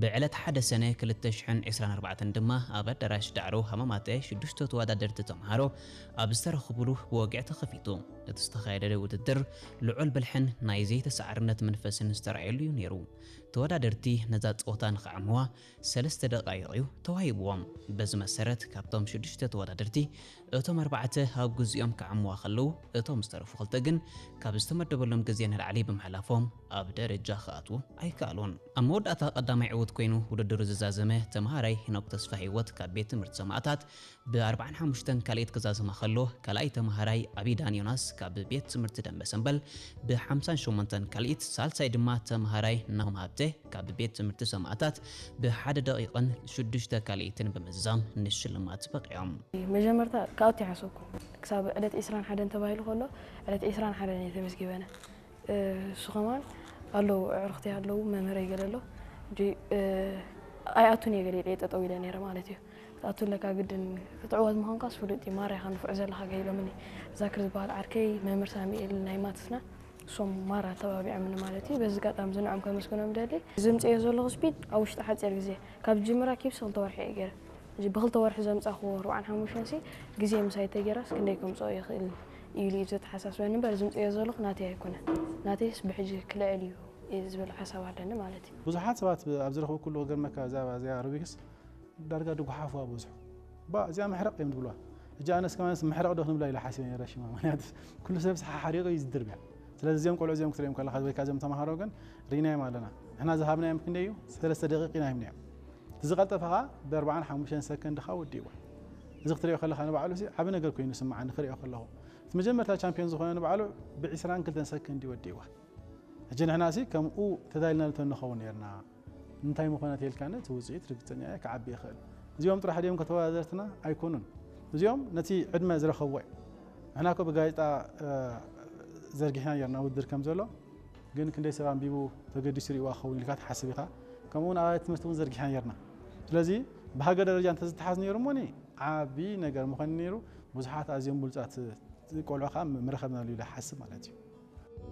ብዕለት ሓደ ሰነ ክልተ ሽሕን ዕስራን ኣርባዕተን ድማ ኣብ ኣዳራሽ ዳዕሮ ሃማማተ ሽዱሽተ ተወዳደርቲ ተምሃሮ ኣብ ዝተረኽብሉ ብወግዒ ተኸፊቱ። እቲ ዝተኻየደ ውድድር ልዑል ብልሕን ናይ ዘይተሰዓርነት መንፈስን ዝተራእየሉ እዩ ነይሩ። ተወዳደርቲ ነዛ ጸወታ ንኽዓምዋ ሰለስተ ደቓይቕ እዩ ተዋሂብዎም። በዚ መሰረት ካብቶም ሽዱሽተ ተወዳደርቲ እቶም ኣርባዕተ ኣብ ግዜኦም ክዓምዋ ከለዉ፣ እቶም ዝተረፉ ክልተ ግን ካብ ዝተመደበሎም ግዜ ንላዕሊ ብምሕላፎም ኣብ ደረጃ ክኣትዉ ኣይከኣሉን። ኣብ መወዳእታ ቀዳማይ ዕዉት ኮይኑ ውድድሩ ዝዛዘመ ተምሃራይ ሄኖክ ተስፋ ህይወት ካብ ቤት ትምህርቲ ሰማእታት ብ ኣርባዓን ሓሙሽተን ካልኢት ክዛዘማ ከሎ፣ ካልኣይ ተምሃራይ ኣቢዳን ዮናስ ካብ ቤት ትምህርቲ ደንበ ሰምበል ብ ሓምሳን ሸሞንተን ካልኢት፣ ሳልሳይ ድማ ተምሃራይ ናሆም ሃብተ ካብ ቤት ትምህርቲ ሰማእታት ብሓደ ደቂቕን ሽዱሽተ ካልኢትን ብምዝዛም ንሽልማት በቒዖም። መጀመርታ ክኣቱ ይሓሰብኩ። ክሳብ ዕለት ዕስራን ሓደን ተባሂሉ ከሎ፣ ዕለት ዕስራን ሓደን እየ ተመዝጊበ ኣነ። እሱ ከማን ኣለዉ፣ ኣዕሩኽተይ ኣለዉ፣ መምህረይ ገለ ኣሎ። እንጂ ኣይኣቱን እየ ገለ ኢለ ጠጠው ኢለ ነይረ ማለት እዩ። ክትኣቱ ኣለካ ግድን፣ ክትዕወት ምዃንካስ ፍሉጥ እዩ፣ ማራ ኢኻ ንፉዕ ዘለኻ ገለ ኢሎምኒ። ዛክር ዝበሃል ዓርከይ፣ መምህር ሳሙኤል ናይ ማትስና፣ እሶም ማራ ተባቢዖምኒ ማለት እዩ። በዚ ኣጋጣሚ እዚ ንዕኦም ከመስግኖም ደሊ። ዘምፅኦ ዘለኹ ስፒድ ኣብ ውሽጢ ሓፂር ግዜ፣ ካብ ጅምራ ኪፕስ ክልተ ወርሒ እየ ገይረ። እዚ ብክልተ ወርሒ ዘምፃኹዎ ኣርባዓን ሓሙሽተን ሲ ግዜ ምሳይ ተገይራስ ክንደይ ከምፅኦ ይኽእል ኢሉ እዩ ዘተሓሳስበኒ እምበር፣ ዝምፅኦ ዘለኹ ናተይ ኣይኮነን። ናተይስ ብሕጂ ክልዕል እዩ ዝብል ሓሳብ ኣለኒ ማለት እዩ። ብዙሓት ሰባት ኣብ ዝረኽቡ ኩሉ ክገርመካ፣ እዛ እዚኣ ሩቢክስ ዳርጋ ድጉሓፍዋ በዝሑ። ባ እዚኣ መሕረቕ እዮም ዝብልዋ። ሕጂ ኣነስ ከማንስ መሕረቕ ዶ ክንብላ ኢለ ሓሲበ ነይረ ሽማ። ምክንያቱ ኩሉ ሰብስ ሓሓሪቑ እዩ ዝድርብያ። ስለዚ እዚኦም ቆልዑ እዚኦም ክትሪኦም ከለኻ ወይ ከዓ እዚኦም ተምሃሮ ግን ርኢናዮም ኣለና። ንሕና ዝሃብናዮም ክንደይ እዩ? ሰለስተ ደቂቕ ኢና ሂብናዮም። እቲ ዝቐልጠፈ ኸዓ ብኣርባዓን ሓሙሽተን ሰከንድ ኸዓ ወዲእዋ። እዚ ክትሪኦ ከለኻ ንባዕሉ ሲ ዓቢ ነገር ኮይኑ ይስምዓኒ ክሪኦ ከለኹ። እቲ መጀመርታ ቻምፒዮን ዝኾነ ንባዕሉ ብዕስራን ክልተን ሰከንድ እዩ ወዲእዋ። ሕጂ ንሕና ሲ ከምኡ ተዳሊና ልተንኸውን ነርና። እንታይ ምኾነ ተልካኒ እቲ ውፅኢት ርግፀኛ እየ ክዓቢ ይኽእል። እዚኦም ጥራሕ ድዮም ከተወዳደርትና? ኣይኮኑን። እዚኦም ነቲ ዕድመ ዝረኸብዎ እዮም። ንሕና እኮ ብጋዜጣ፣ እ፣ ዘርጊሕና ነርና ውድድር ከም ዘሎ፣ ግን ክንደይ ሰብ ኣንቢቡ ተገዲሱ ሪእዋ ክኸውን ኢልካ ትሓስብ ኢኻ። ከምኡ እውን ኣብያተ ትምህርቲ እውን ዘርጊሕና ነርና። ስለዚ ብሃገር ደረጃ እንተዝተሓዝ ነይሩ እሞኒ ዓቢ ነገር ምኾነ ነይሩ። ብዙሓት ኣዝዮም ብሉጻት ቆልዑ ከዓ ምረኸብናሉ ኢለ ይሓስብ ማለት እዩ።